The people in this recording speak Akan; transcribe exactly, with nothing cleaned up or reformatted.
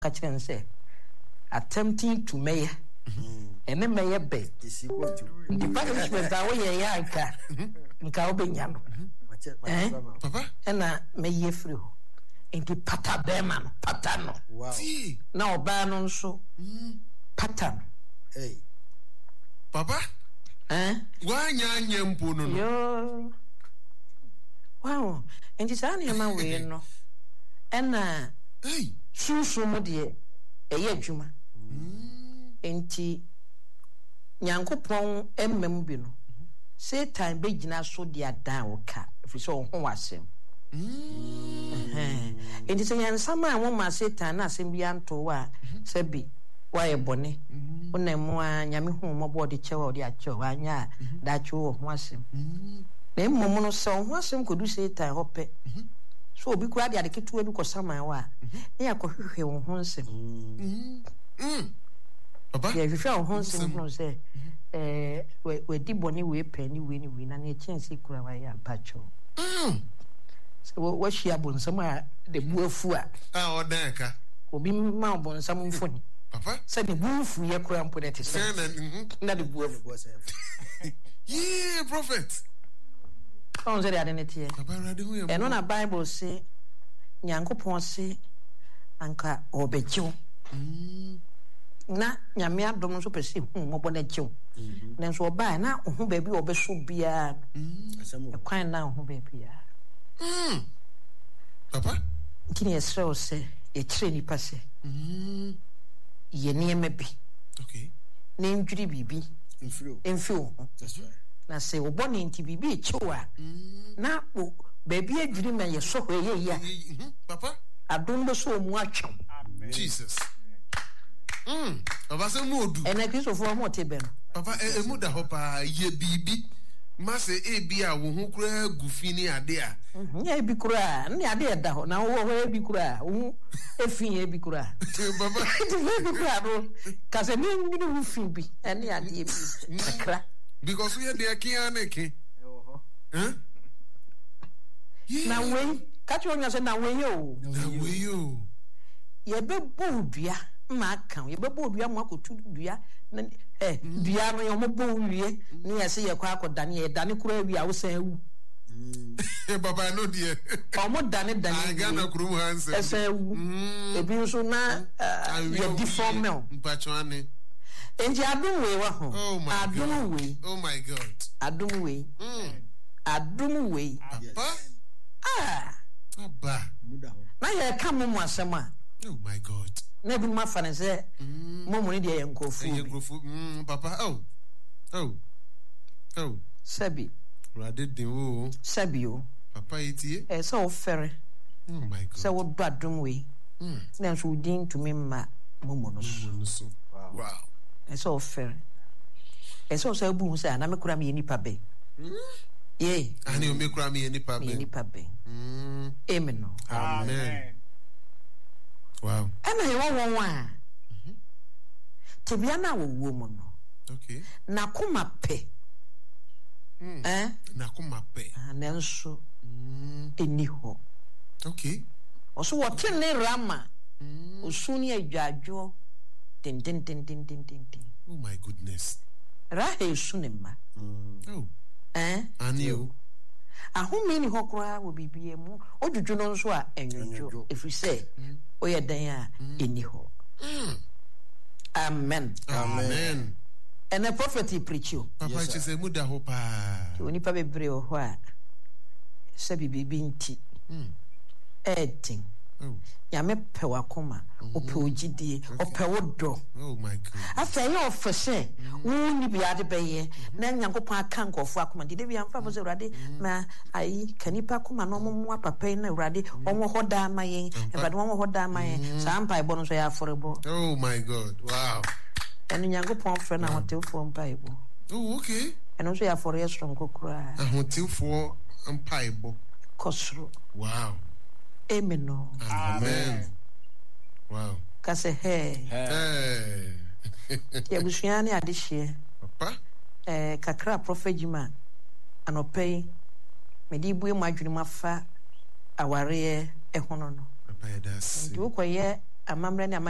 Ka kyerɛ no sɛ, Attempting to mɛyɛ ɛne mɛyɛ bɛ. Nti punishment a woyɛ yɛ a nka nka wobɛnya no ɛna mɛyi afiri hɔ. Nti pata bɛrima no, pata no. Na ɔbaa no nso pata no. Papa, woanya anyɛ mpo no no. Yoo. Wow. Nti saa nneɛma wei no ɛna sunsum mu deɛ ɛyɛ adwuma. Enti Nyankopɔn mma mu bi no, Satan bɛgyina so de adan wo ka, ɛfiri sɛ ɔho w'asɛm. Enti sɛ yɛnsamaa wo maa Satan na asɛm biara ntoo wo a, sɛbi woayɛ bɔne, wonam mu ara, Nyame hu wo mmɔbɔ ɔde kyɛ wo a ɔde akyɛ wo, anyɛ a daakye wowɔ ho asɛm. Na mmom no, sɛ wo ho asɛm kɔdu Satan hɔ pɛ, sɛ obi koraa de ade ketewa bi kɔsaman wo a, na yɛakɔhwehwɛ wo ho nsɛm. Yɛhwehwɛ wo ho nsɛm hunu sɛ wadi bɔne wei pɛn ne wei ne wei, na nea ɛkyɛn sei koraa wayɛ ampa kyɛw. Sɛ woahyia bonsam a ne bo afu a, obi ma wo bonsam mfoni sɛ ne bo mfuiɛ koraa mpo na ɛte sɛ na ne bo afu. Yee, prophet. Ɔn sɛ de ade ne teɛ. Ɛno na Bible se Nyankopɔn se anka ɔbɛgye wo. Mm. Na Nyame adom nso pɛ sɛ ehu mmɔbɔ na gye wo. Mm. Nanso ɔbaa na ɔho baabi a ɔbɛso biara no. Mm. Ɛkwan na ɔho baabiara. Mm. Papa. Nti na yɛsrɛ wo sɛ yɛkyerɛ nnipa sɛ mm. yɛ nneɛma bi. Okay. Na ndwiri biribi mfi wo ho. Na sɛ wo bɔne nti biribi rekye wo a, na wo baabi adwiri ma yɛsɔ hɔ ɛyɛ yie a, adom bɛsɔ wo mu atwe wo. Jesus. Mm. Papa sɛ mu odu. Ɛnɛ Kristofoɔ ho te bɛ no. Papa emu da hɔ paa, yɛ biribi ma sɛ ebi a wo ho koraa gu fi ne ade a. Nyɛ ebi koraa, ne ade ɛda hɔ na wowɔ hɔ ebi koraa, wo ho efi yɛ ebi koraa. Papa. Nti ebi koraa no, ka sɛ ne nwene ho fi bi ɛne adeɛ bi kakra. Because woyɛ deɛ ke ara ne ke. Na wei, ka kyerɛ onua sɛ na wei o. Na wei o. Yɛbɛbɔ wo dua ma aka wo, yɛbɛbɔ wo dua ma akɔtu dua. Ɛ dua no yɛn bɔ wo wie ne yɛsɛ yɛkɔ akɔdane, yɛdane koraa wie a wosan awu. Papa ɛno deɛ. Ɔmo dane dane wie. Ghana kurom ha nsɛm. Ɛsan awu. Ebi nso na yɛ deform wo. Mpatwa ane. Enti adom wei wɔ ho. Oh my adom God. Wei. Oh my God. Adom wei. Mm. Adom wei. Papa. Ah. Aba. Na yɛka mo mu asɛm a. Oh my God. Na ebinom afa no sɛ mm. mo mu no deɛ yɛ nkurɔfoɔ bi. Ɛyɛ nkurɔfoɔ mm, papa oh oh oh. Sɛbi. Awurade den o. Sɛbi o. Papa yi tie. Ɛyɛ sɛ wofɛre. Oh my God. Sɛ wodɔ adom wei. Mm. Nanso wo din ntumi mma momo no so. Momo no so. Wow. Ɛsɛ ɔfɛre. Ɛsɛ ɔsɛ abu ho sɛ ana me kora meyɛ nipa bɛn. Mm. Yei. Ane me kora meyɛ nipa bɛn. Meyɛ nipa bɛn. Mm. Amen no. Amen. Wow. Ɛna yɛwɔ wɔn a mm-hmm. tebea no a wɔwɔ mu no. Okay. N'akoma pɛ. Mm. Eh? N'akoma pɛ. Ah, nanso mm. ɛni hɔ. Okay. Ɔso wɔte ne Rama osu ne adwadwoɔ dendendendendenden. Oh my goodness. Rahel su ne mma. Oh. Eh? Ani o. Ahome ni hɔ koraa wɔ biribiara mu. Odwudwo no nso a ɛnwodwo ɛfiri sɛ woyɛ dɛn a ɛni hɔ. Amen. Amen. Ɛnɛ prophet yi preach o. Papa kyerɛ sɛ mu da hɔ paa. Onipa bebree wɔ hɔ a sɛbi biribi nti ɛɛden. Nyame pɛ w'akoma, ɔpɛ wo gyidie, ɔpɛ wo dɔ. Afei ɛyɛ ɔfɛ sɛ wo nni bia de bɛyɛ na Nyankopɔn aka nkurɔfoɔ akoma nti da bia mfa fo sɛ Awurade ma ayi ka nipa akoma na ɔmo mmoa papa yi na Awurade ɔnwɔ hɔ daa ma yɛn, Awurade ɔnwɔ hɔ daa ma yɛn. Saa mpaebɔ no nso ɛyɛ afɔrebɔ. Oh my God, wow. Ɛno Nyankopɔn frɛ no ahotefoɔ mpaebɔ. Oh, okay. Ɛno nso yɛ afɔreɛ soronko koraa. Ahotefoɔ mpaebɔ. Kɔ soro. Wow. Amen o. Amen. Wow. Ka sɛ hɛɛ. Hɛɛ. Nti abusua ne adehyeɛ. Papa. Eh, kakra a Prophet Jima anɔpa yi mede bue mo adwene mu afa awareɛ ho no no. Papa yɛda ase. Nti wokɔyɛ Amammerɛ ne amanneɛ.